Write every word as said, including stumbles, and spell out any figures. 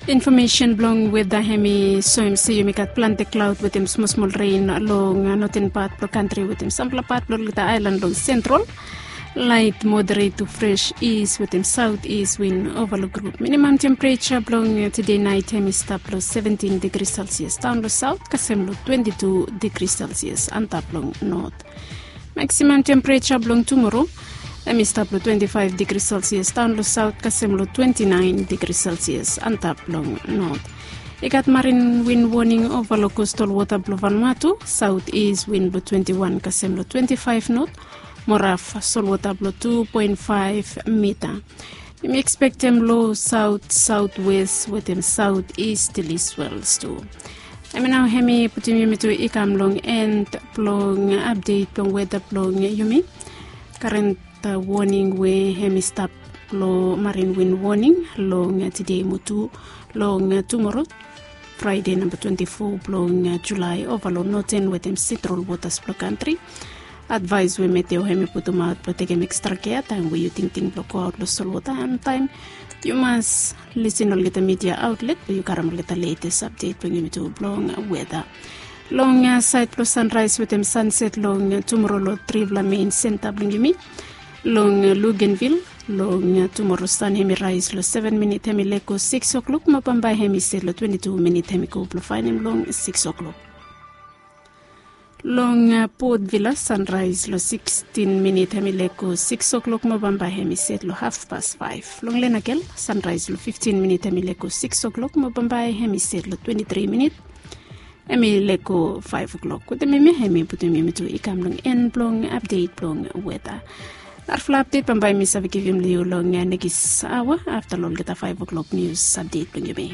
Infomesen blong weda hem i soem se yumi gat plante klaod wetem smosmol ren long noten pat blong kantri wetem sampela pat blong olgeta aelan long sentral. Lait moderet tu fres is wetem saot is win ovaluk grup. Minimam tempereja blong tede nait hem i stap long seventin digri selsias daon long saot kasem long twenti tu digri selsias antap long not. Maksimam tempereja blong tumoro hem i stap long twenti faef digri selsias daon long saot kasem long twenti naen digri selsias antap long not. I gat marin win woning ova long kostal wota blong Vanuatu, saot is win blong twenti wan kasem long twenti faef not, mo raf solwota blong tu poen faef mita. Yumi ekspektem lo saot saotwes wetem saot is still i swels tu. Hemi nao hemi putum yumi tu i kam long en blong apdet blong weda blong yumi. Karen woning we hemi stap lo marin win woning long tede mo tu long tumoro, Fraide namba twenti fo blong Julai ova long noten wetem sentral wotas blong kantri. Advaes we meteo hemi putumaot blong tekem ekstra kea taem we yu tingting blong goaot long solwota, em taem yu mas lisin olgeta midia aotlet blong yu karim olgeta letes apdet blong yumi tu blong weda. Long saed blong sanraes wetem sanset long tumoro long trifala mein senta blong yumi. Long Lugenvil, long tumoro san hemi raes long seven minit hemi lego sikis oklok mo bambae hemi set long twenti tu minit hemi go blong faenem long sikis oklok. Long Port Vila, sanraes long sikstin minit hemi lego sikis oklok mo bambae hemi set long hafpas faef. Long Lenakel, sanraes long fiftin minit hemi lego sikis oklok mo bambae hemi set long twenti tri minit hemi lego faef oklok. Wetem yumi hemi putum yumi tu i kam long en blong apdet blong weda. Narafala apdet bambae mi save givim long yu long nekis aoa afta long olgeta faef oklok nius apdet blong yumi.